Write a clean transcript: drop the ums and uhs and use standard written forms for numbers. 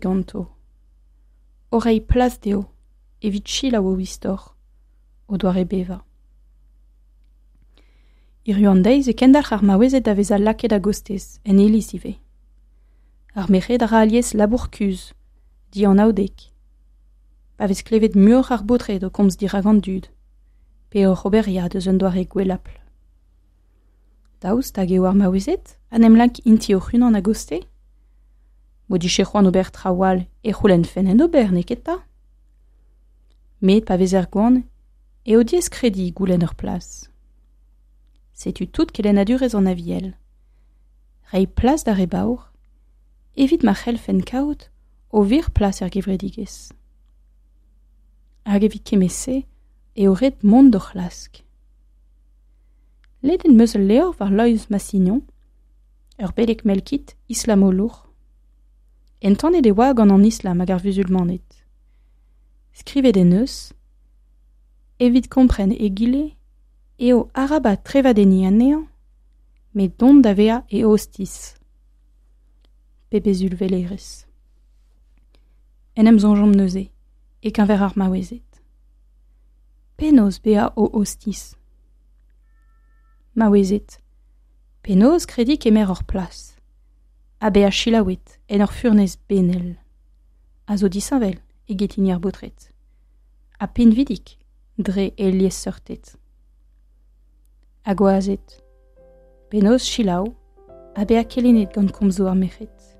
Ganto, o reiñ plas dezho evit selaou o istor, o doare bevañ. Hiziv an deiz e kendalc'h ar maouezed da vezañ lakaet a-gostez, en iliz ivez. Ar merc'hed a ra alies labour kuzh, dianaoudek. Pa vez klevet muioc'h ar baotred o komz dirak an dud, pe oc'h oberiañ eus un doare gwellapl. Daoust hag eo ar maouezed a 'n em lak int-i hoc'h-unan a-gostez? M'o dije c'hoant ober traoù all e c'houlennfen en ober, n'eo ket 'ta? Met pa vezer gwan eo diaes krediñ goulenn ur plas. Setu tout kelennadurezh an Aviel. Reiñ plas d'ar re baour evit ma c'hellfent kaout o wir plas er gevredigezh. Hag evit kement-se eo ret mont d'o c'hlask. Lennet 'm eus ul levr war Loeiz Massignon, ur beleg melkit islamolour. Entanet e oa gant an islam hag ar vuzulmaned. Skrivet en deus Evit kompren egile eo arabat trevadenniñ anezhañ, met dont da vezañ e ostiz. Pebezh ulvelerezh. En em soñjomp neuze e-keñver ar maouezed. Penaos bezañ o ostiz? Maouezed, penaos krediñ kemer hor plas ha bezañ selaouet en ur furnez benel a zo disheñvel eget hini ar baotred ha pinvidik dre e liesseurted. Ha gwazed, penaos selaou ha bezañ kelennet gant komzoù ar merc'hed?